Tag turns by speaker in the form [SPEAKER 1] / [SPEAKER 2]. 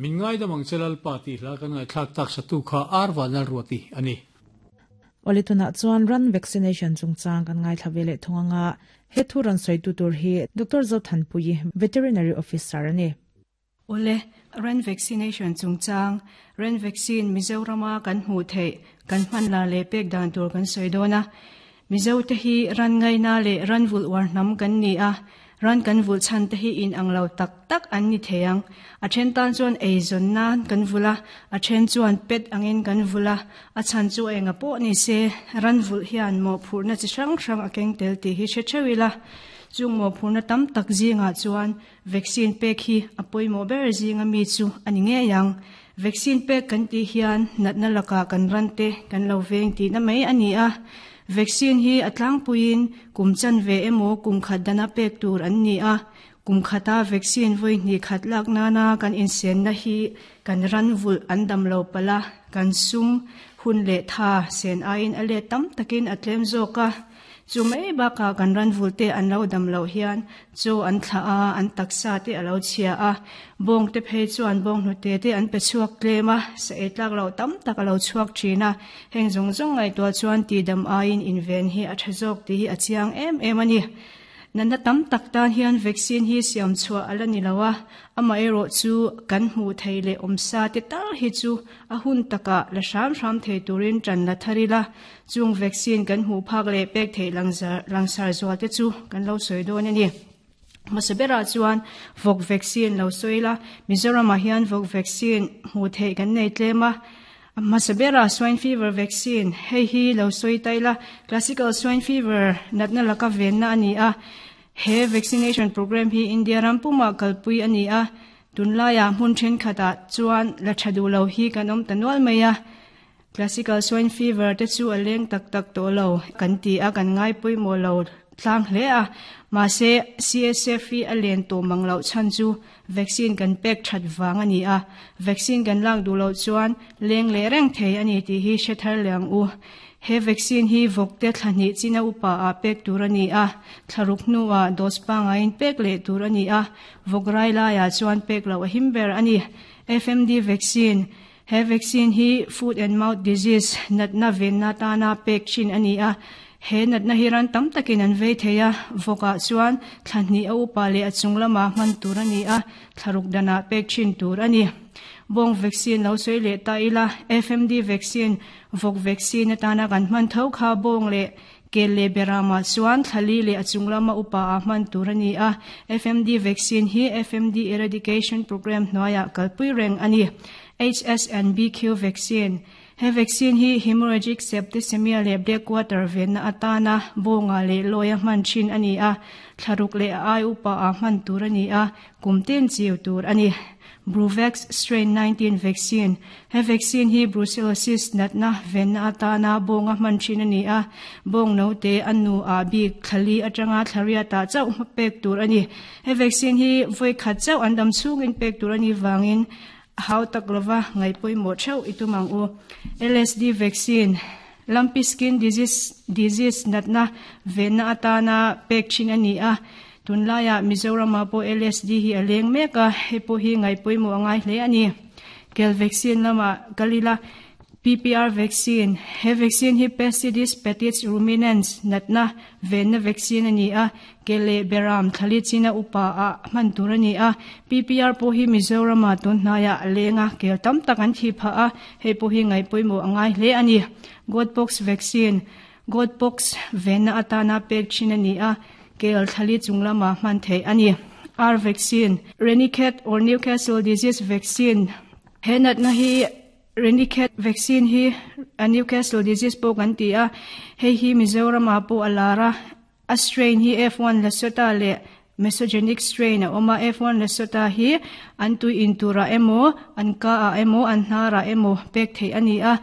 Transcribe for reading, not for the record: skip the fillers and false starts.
[SPEAKER 1] Min ngaidam ang che Lalpa tih hla kan ngaihthlak tak satu kha Ar Vanlalruati a ni.
[SPEAKER 2] Awle tunah chuan ran vaccination chungchang kan ngaithla ve leh thung anga he thu rawn sawitu tur hi Doctor Zothanpuii, Veterinary Officer a ni.
[SPEAKER 3] Awle, ran vaccination chungchang, ran vaccine Mizorama kan hmuh theih, kan hman lar leh pek dan tur kan sawi dawn a. Mizote hi ran ngaina leh ran vulh uar hnam kan ni a, ran kan vulh chhan te hi in ang lo tak tak an ni thei ang. A then tan chuan eizawn nan kan vulh a, a then chuan pet angin kan vulh a, a chhan chu enga pawh ni se, ran vulh hian mawhphurhna chi hrang hrang a keng tel tih hi hre theuh ila. Chung mawhphurhna tam tak zingah chuan vaccine pek hi a pawimawh ber zinga mi chu a ni ngei ang. Vaccine pek kan tih hian natna lakah kan ran te kan lo veng tihna mai a ni a. Vaccine hi a tlangpuiin kum chanve emaw kum khat dana pek tur an ni a. Kum khata vaccine vawi hnih khat lak nana kan insenna hi kan ran vulh an dam lo palh a, kan sum hun leh tha sen aiin a let tam takin a tlem zawk a. Chu mai bakah kan ranvul te an lo dam loh hian chaw an thlah a, an taksa te a lo chhia a, bawng te phei chuan bawng hnute te an pe chhuak tlem a, sa ei tlak loh tam tak a lo chhuak thin a, heng zawng zawng ngaihtuah chuan tihdam aiin inven hi a tha zawk tih hi a chiang em em a ni. Natna tam tak tan hian vaccine hi siam chhuah a la ni lo a, amaherawh chu kan hmuh theih leh awmsa te tal hi chu a hun takah la hram hram thei turin tan la thar ila, chung vaccine kan hmuh phak leh pek theih langsar zual te chu kan lo sawi dawn a ni. Hmasa berah chuan vawk vaccine lo sawi ila, Mizoramah hian vawk vaccine hmuh theih kan nei tlem a, Hmasa bera swine fever vaccine, hei hi lo sawi ta ila, classical swine fever natna laka venna a ni a. He vaccination program hi India ram pumah kalpui a ni a, tunlaiah hmun thenkhatah chuan la tha duh lo hi kan awm ta nual mai a. Classical swine fever te chu a leng tak tak tawh lo kan ti a, kan ngai pawimawh lo tlang hle a. Mahse, CSF hi a len tawh mang loh chhan chu Vaccine kan pek that vang a ni a, vaccine kan lak duh loh chuan leng leh reng thei a ni tih hi hre thar leh ang u. He vaccine hi vawkte thla hnih china upa ah pek tur a ni a, thla ruk hnuah dose pangaiin pek leh tur a ni a, vawk rai laiah chuan pek loh a him ber a ni. FMD vaccine, He vaccine hi foot and mouth disease natna venna tana pek thin a ni a, he natna hi ran tam takin an vei thei a, vawkah chuan thla hnih a upa leh a chung lamah hman tur a ni a, thla ruk danah pek thin tur a ni. Bawng vaccine lo sawi leh ta ila, FMD vaccine, vawk vaccine atana kan hman tho kha bawng leh Kel leh Beramah chuan thla li leh a chung lama upa ah hman tur a ni a, FMD vaccine hi FMD Eradication Programme hnuaiah kalpui reng a ni. HSNBQ vaccine, He vaccine hi hemorrhagic septicemia leh blackwater venna atana bawnga leh lawia hman thin a ni a, thla ruk leh a ai upa ah hman tur a ni a, kum tin chiu tur a ni. Bruvax Strain 19 Vaccine, He vaccine hi brucellosis natna venna atana bawnga hman thin a ni a, bawng note a nu ah bik thla li atanga thla riat ah chauh hma pek tur a ni. He vaccine hi vawi khat chauh an dam chhungin pek tur a nih vangin a hau tak lova ngaih pawimawh theuh i tum ang u. LSD Vaccine, Lumpy skin disease disease natna venna atana pek thin a ni a, tunlaiah Mizoramah pawh LSD hi a leng mek a, hei pawh hi ngaih pawimawh a ngai hle a ni. Kel vaccine lamah kal ila, PPR vaccine, he vaccine hi Pestides petits ruminants natna venna vaccine a ni a, ke leh beram thlali china upa ah hman tur a ni a, PPR pawh hi Mizoramah tun hnaiah a leng a, kel tam tak an thih phah a, hei pawh hi ngaih pawimawh a ngai hle a ni. Goatpox vaccine, Goatpox venna atana pek thin a ni a, kel thlali chung lamah hman theih a ni. R vaccine, Ranikhet or Newcastle disease vaccine, he natna hi Ranikhet vaccine hi a Newcastle disease pawh kan ti a, hei hi Mizoramah pawh a lar a, A strain hi F1 Lasota leh Mesogenic strain a awm a, F1 Lasota hi an tui in turah emaw, an ka ah emaw, an hnarah emaw pek theih a ni a.